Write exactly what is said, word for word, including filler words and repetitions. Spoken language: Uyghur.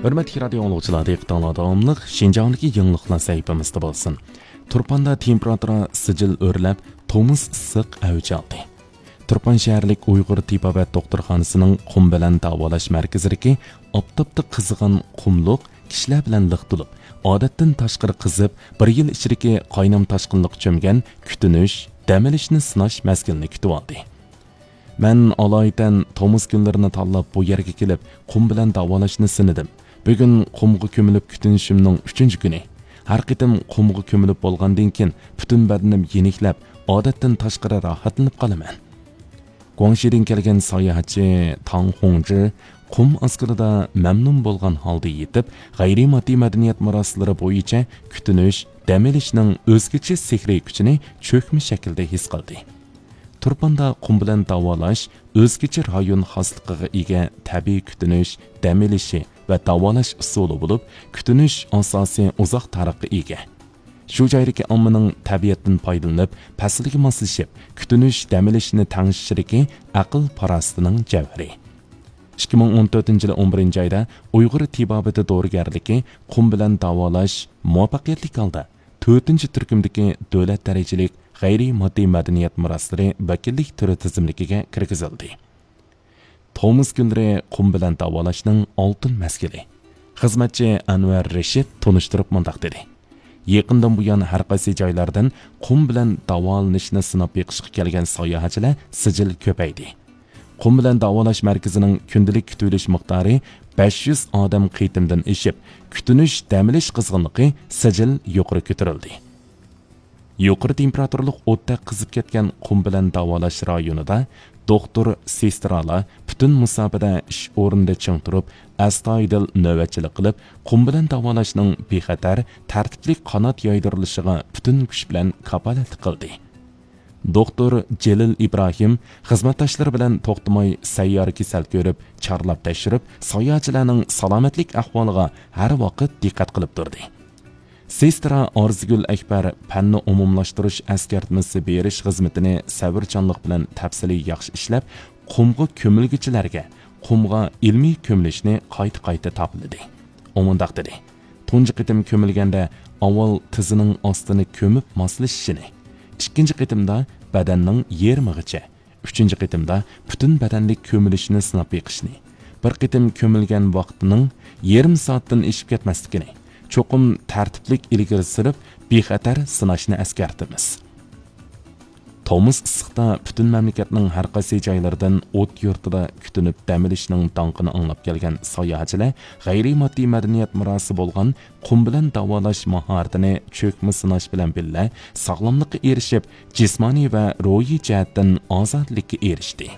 ھۆرمەتلىك رادىئو ئاڭلىغۇچىلار، دىققىتىڭلاردا داۋاملىق شىنجاڭدىكى يېڭىلىقلار سەھىپىمىزدە بولسۇن. تۇرپاندا تېمپېراتۇرا سىجىل ئۆرلەپ، تومۇز ئىسسىق ئەۋج ئالدى. تۇرپان شەھەرلىك ئۇيغۇر تېبابەت دوختۇرخانىسىنىڭ قۇم بىلەن داۋالاش مەركىزىدىكى ئاپتاپتا قىزىغان قۇملۇق كىشىلەر بىلەن لىق تولۇپ، ئادەتتىن تاشقىرى قىزىپ، بىر يىل ئىچىدىكى قاينام تاشقىنلىققا چۆمگەن كۈتۈنۈش، دەم ئېلىشنى سىناش مەزگىلىنى كۈتۈۋالدى. مەن ئالايىتەن تومۇز كۈنلىرىنى تاللاپ بۇ يەرگە كېلىپ، قۇم بىلەن داۋالاشنى سىنىدىم. بۈگۈن قۇمغا كۆمۈلۈپ كۈتۈنۈشۈمنىڭ ئۈچىنچى كۈنى. ھەر قېتىم قۇمغا كۆمۈلۈپ بولغاندىن كېيىن، پۈتۈن بەدىنىم يېنىكلەپ، ئادەتتىن تاشقىرى راھەتلىنىپ قالىمەن. گۇاڭشىدىن كەلگەن ساياھەتچى تاڭ خۇڭجى قۇم ئاسكىلىدا مەمنۇن بولغان ھالدا يېتىپ، غەيرىي ماددىي مەدەنىيەت مىراسلىرى بويىچە كۈتۈنۈش، دەم ئېلىشنىڭ ئۆزگىچە سېھرىي كۈچىنى چۆكمە شەكىلدە ھېس قىلدى. تۇرپاندا قۇم بىلەن داۋالاش ئۆزگىچە رايون خاسلىقىغا ئىگە تەبىئىي كۈتۈنۈش، دەم ئېلىشى ۋە داۋالاش ئۇسۇلى بولۇپ، كۈتۈنۈش ئاساسىي ئۇزاق تارىخقا ئىگە. شۇ جايدىكى ئاممىنىڭ تەبىئەتتىن پايدىلىنىپ، پەسىلگە ماسلىشىپ، كۈتۈنۈش، دەم ئېلىشنى تەڭشىشلىكى ئەقىل-پاراسىتىنىڭ جەۋھىرى. ئىككى مىڭ ئون تۆتىنچى يىلى ئون بىرىنچى ئايدا ئۇيغۇر تېبابىتى دورىگەرلىكى قۇم بىلەن داۋالاش مۇۋەپپەقىيەتلىك ھالدا تۆتىنچى تۈركۈمدىكى دۆلەت دەرىجىلىك غەيرىي ماددىي مەدەنىيەت مىراسلىرى ۋەكىللىك تۈرى تىزىملىكىگە كىرگۈزۈلدى. تومۇز كۈنلىرى قۇم بىلەن داۋالاشنىڭ ئالتۇن مەزگىلى. خىزمەتچى ئەنۋەر رېشىت تونۇشتۇرۇپ مۇنداق دېدى: يېقىندىن بۇيان ھەر قايسى جايلاردىن قۇم بىلەن داۋالىنىشنى سىناپ بېقىشقا كەلگەن ساياھەتچىلەر سىجىل كۆپەيدى. قۇم بىلەن داۋالاش مەركىزىنىڭ كۈندىلىك كۈتۈۋېلىش مىقدارى بەش يۈز ئادەم قېتىمدىن ئېشىپ، كۈتۈنۈش، دەم ئېلىش قىزغىنلىقى سىجىل يۇقىرى كۆتۈرۈلدى. يۇقىرى تېمپېراتۇرىلىق ئوتتەك قىزىپ كەتكەن قۇم بىلەن داۋالاش رايونىدا دوختۇر، سېسترالار پۈتۈن مۇساپىدە ئىش ئورنىدا چىڭ تۇرۇپ، ئەستايىدىل نۆۋەتچىلىك قىلىپ، قۇم بىلەن داۋالاشنىڭ بىخەتەر، تەرتىپلىك قانات يايدۇرۇلۇشىغا پۈتۈن كۈچ بىلەن كاپالەتلىك قىلدى. دوختۇر جېلىل ئىبراھىم خىزمەتداشلىرى بىلەن توختىماي سەييارە كېسەل كۆرۈپ، چارلاپ تەكشۈرۈپ، ساياھەتچىلەرنىڭ سالامەتلىك ئەھۋالىغا ھەر ۋاقىت دىققەت قىلىپ تۇردى. سېسترا ئارزۇگۈل ئەكبەر پەننى ئومۇملاشتۇرۇش ئەسكەرتمىسى بېرىش خىزمىتىنى سەۋرچانلىق بىلەن تەپسىلىي ياخشى ئىشلەپ، قۇمغا كۆمۈلگۈچىلەرگە قۇمغا ئىلمىي كۆمۈلۈشنى قايتا-قايتا تاپىلىدى. ئۇ مۇنداق دېدى: تۇنجى قېتىم كۆمۈلگەندە ئاۋۋال تىزىنىڭ ئاستىنى كۆمۈپ ماسلىشىشىنى، ئىككىنچى قېتىمدا بەدەننىڭ يېرىمىغىچە، ئۈچىنچى قېتىمدا پۈتۈن بەدەنلىك كۆمۈلۈشنى سىناپ بېقىشنى، بىر قېتىم كۆمۈلگەن ۋاقتىنىڭ يېرىم سائەتتىن ئېشىپ كەتمەسلىكىنى، چوقۇم تەرتىپلىك ئىلگىرى سۈرۈپ، بىخەتەر سىناشنى ئەسكەرتىمىز. تومۇز ئىسسىقتا پۈتۈن مەملىكەتنىڭ ھەر قايسى جايلىرىدىن ئوت يۇرتىدا كۈتۈنۈپ دەم ئېلىشنىڭ داڭقىنى ئاڭلاپ كەلگەن ساياھەتچىلەر غەيرىي ماددىي مەدەنىيەت مىراسى بولغان قۇم بىلەن داۋالاش ماھارىتىنى چۆكمە سىناش بىلەن بىللە، ساغلاملىققا ئېرىشىپ، جىسمانىي ۋە روھىي جەھەتتىن ئازادىلىككە ئېرىشتى.